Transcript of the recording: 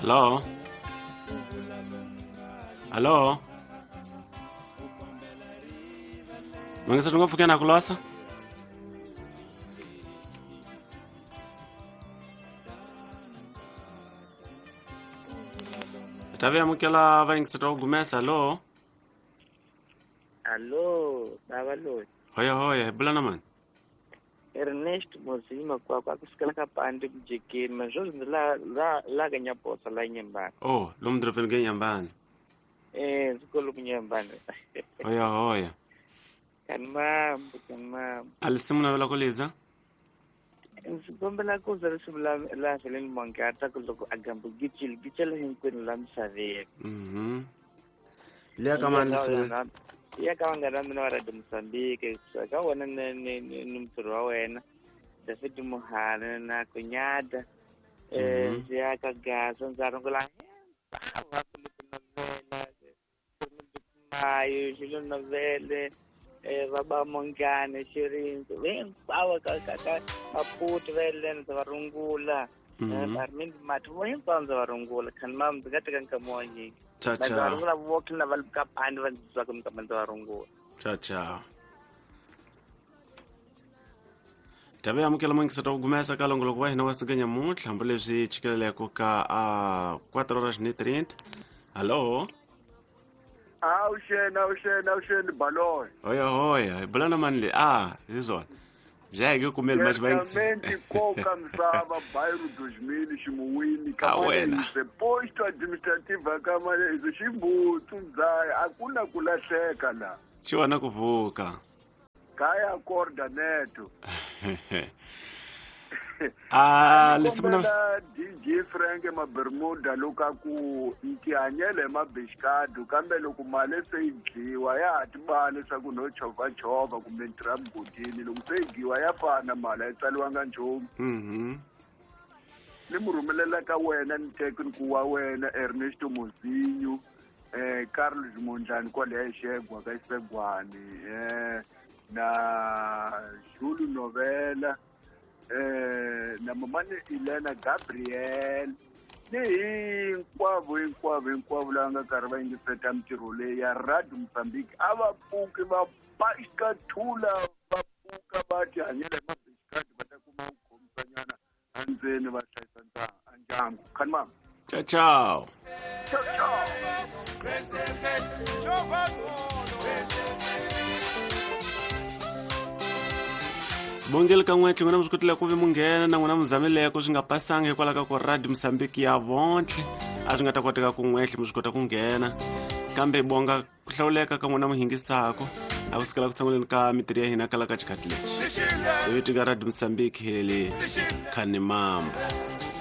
Hello. Hello. Mangisa ngopfu ke na ku losa. Ta vi amukela vayingiseri va ku gumesa. Hello. Allo, baba loyi. Hoya hoya, hi bula na mani? Ernest Mozima kwakwa kusukela ka pandi mujekeni mazvozvo ndzi la la la ka Nyaposa la Nyembani. Oh, lomu dorobeni ke Nyembani. Eh, ndzi kolo ku Nyembani. Hoya hoya. Kani mambo, kani mambo. A lisimu navela ku liza? Ndzi kombela ku za risimu la la Helen Mongata ku loko a gambo gicile gicile hinkwenu la misaveni. Mhm. Liya ka mani lisimu? Ya ka vanghana va mina va Radio Mozambique, ka wena ni ni ni ni mutirhi wa wena David Muhana na Kunyada ndzi ya ka Gaza ndza rungula hinkwavo va Filipe Novela, Mayo, Julio Novele, va ba Mongane, Xirindzi, hinkwavo ka ka ka Maputo va yeleni ndza va rungula. Armin Mati vo hinkwavo ndza va rungula khani mam ndzi nga teka nkama wa nyingi. Cha Ndza va cha. rungula voke na va le ka pandi va ndzi twaka minkama ndza va rungula. Cha cha. Tava amukela mangisa ta ku gumesa ka longoloko wa hina wa siku nyamuntlha hambileswi chikeleleko ka a 4 horas ni 30. Hello. Awuxeni, awuxeni, awuxeni Baloyi. Hoya hoya, hi bula na mani le? Ah, hi swona. Bya hi kumeli manje va yingisa. Certamente koka misava bairro 2000 ximuwini A wena. Kamalehise posto administrativa Kamalehise xibutsu ndzaya akuna ku lahleka la. Xiwana ku vuka. Kaya corda neto. Ah, lesimu na Kombela DJ Frank Mabermuda loko a ku ntihanyele hi mabixikado kambe loko mali se yi dyiwa ya ha tibala leswaku no chovhachovha kumbe ntirha mugodini loko se yi dyiwa ya fana mali a yi tsaliwanga nchumu. Mhm. Ni mu rhumelela ka wena ni tekniku wa wena Ernesto Mozinho, Carlos Mondlane kwalaya Xegwa ka Xisegwani, na Jules Novela, na mamani Elena Gabriel ni hinkwavo hinkwavo hinkwavo lava nga karhi va yingiseta mintirho leyi ya Radio Mozambique a va pfuki va baxikathula va pfuka va tihanyela hi mabixikadi va ta kuma ku khomisanyana endzeni va hlayisa ndyangu. Khani mama. Ciao ciao. Ciao ciao. Bongeli ka n'wetlhe n'wina mi swi kotile ku vi munghena na n'wina mi zamileko swi nga pasanga hikwalaho ka ku Radio Mozambique ya vontlhe a swi nga ta koteka ku n'wetlhe mi swi kota ku nghena kambe bonga ku hlawuleka ka n'wina mi hingisako a ku sukela ku sunguleni ka mitirho ya hina kala ka xikhathi lexi hi vito ka Radio Mozambique hi le Khanimamba.